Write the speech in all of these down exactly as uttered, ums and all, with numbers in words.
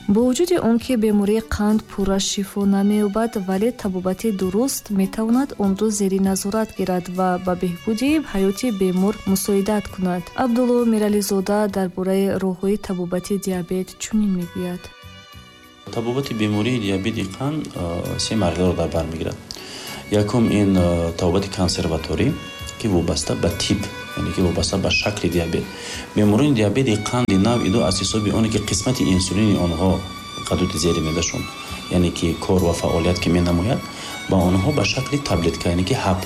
Бо вуҷуди он ки бемории қанд пурра шифо намеёбад, вале табобати дуруст метавонад онро зери назорат гирад ва ба беҳбуди ҳаёти бемор мусоидат кунад. Абдулло Мирализода дар бораи роҳҳои табобати диабет чунин мегӯяд. Табобати бемории диабети қанд се марҳиларо дар бар мегирад. Якум ин табобати консерваторӣ, ки вобаста ба тип, яъне ки вобаста ба шакли диабет. Беморони диабети қанди навъи ду аз ҳисоби оне ки қисмати инсулини онҳо ғадуди зери меъдашон, яъне ки кор ва фаъолият ки менамояд, ба онҳо ба шакли таблетка, яъне ки ҳаб,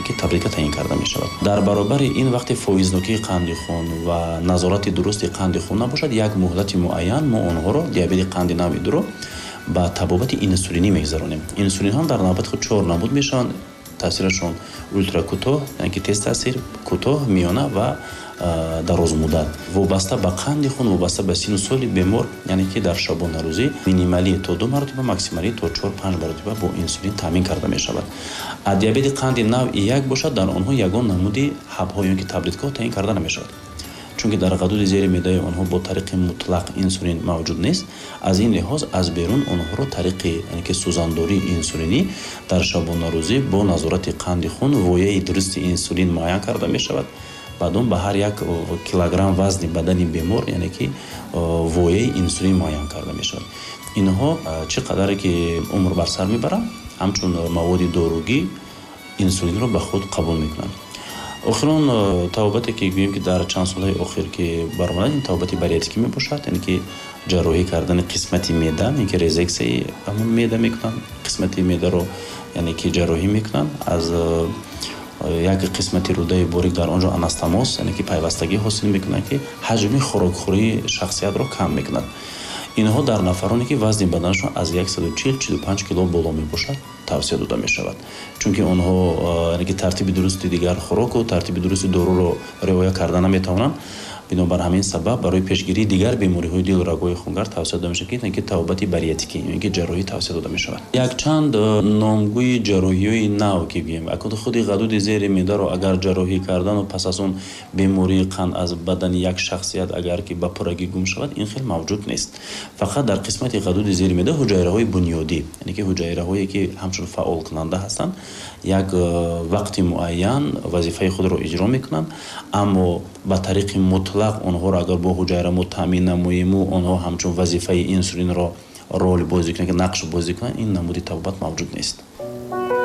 ки таблетка таъин карда мешавад. Дар баробари ин вақте фоизнокии қанди хун ва назорати дурусти қанди хун набошад, як муҳлати муайян мо онҳоро, диабети қанди навъи дуро, ба табобати инсулинӣ мегузаронем. Инсулинҳо дар навбати худ чор намуд мешаванд. Таъсирашон ултракӯтоҳ, яъне ки тез таъсир, кӯтоҳ, миёна ва дарозмуддат. Вобаста ба қанди хун, вобаста ба сину соли бемор, яъне ки дар шабонарӯзӣ минималӣ то ду маротиба, максималӣ то чор панҷ маротиба бо инсулин таъмин карда мешавад. А диабети қанди навъи як бошад, дар онҳо ягон намуди ҳабҳо ё ки таблеткаҳо таъин карда намешавад, чунки дар ғадуди зери меъдаи онҳо бо тариқи мутлақ инсулин мавҷуд нест. Аз ин лиҳоз аз берун онҳоро тариқи, яъне ки сӯзандории инсулинӣ дар шабонарӯзӣ бо назорати қанди хун вояи дурусти инсулин муайян карда мешавад. Баъд он ба ҳар як килограмм вазни бадани бемор, яъне ки вояи инсулин муайян карда мешавад. Инҳо чӣ қадаре ки умр бар сар мебаранд, ҳамчун маводи доругӣ инсулинро ба худ қабул мекунанд. Охирон табобате ки гӯем ки дар чанд солҳои охир ки баромадад, ин табобати бариатрикӣ мебошад, яъне ки ҷарроҳӣ кардани қисмати меъда, яъне ки резексияи ҳамон меъда мекунанд, қисмати меъдаро, яъне ки ҷарроҳӣ мекунанд, аз як қисмати рӯдаи борик дар он ҷо анастомоз, яъне ки пайвастагӣ ҳосил мекунанд, ки ҳаҷми хӯрокхӯрии шахсиятро кам мекунад. Инҳо дар нафароне ки вазни баданашон аз яксаду чил чилу панҷ кило боло мебошад, тавсия дода мешавад, чунки онҳо, яъне ки тартиби дурусти дигар хӯроку тартиби дурусти доруро риоя карда наметавонанд. Бинобар ҳамин сабаб барои пешгирии дигар бемориҳои дилу рагҳои хунгард тавсия дода мешавад, ки табобати бариатрикӣ ё ки ҷарроҳӣ тавсия дода мешавад. Якчанд номгӯи ҷарроҳиҳои нав ки гӯем, акун худи ғадуди зери меъдаро агар ҷарроҳӣ кардану пас аз он бемории қанд аз бадани як шахсият агар ки ба пуррагӣ гум шавад, ин хел мавҷуд нест. Фақат дар қисмати ғадуди зери меъда ҳуҷайраҳои бунёдӣ, яъне ки ҳуҷайраҳое ки ҳамчун фаъолкунанда ҳастанд, як вақти муайян вазифаи худро иҷро мекунанд, аммо ба тариқи мутлақ онҳоро агар бо ҳуҷайра мо таъмин намоему онҳо ҳамчун вазифаи инсулинро рол бозӣ кунанд, ки нақш бозӣ кунанд, ин намуди табобат мавҷуд нест.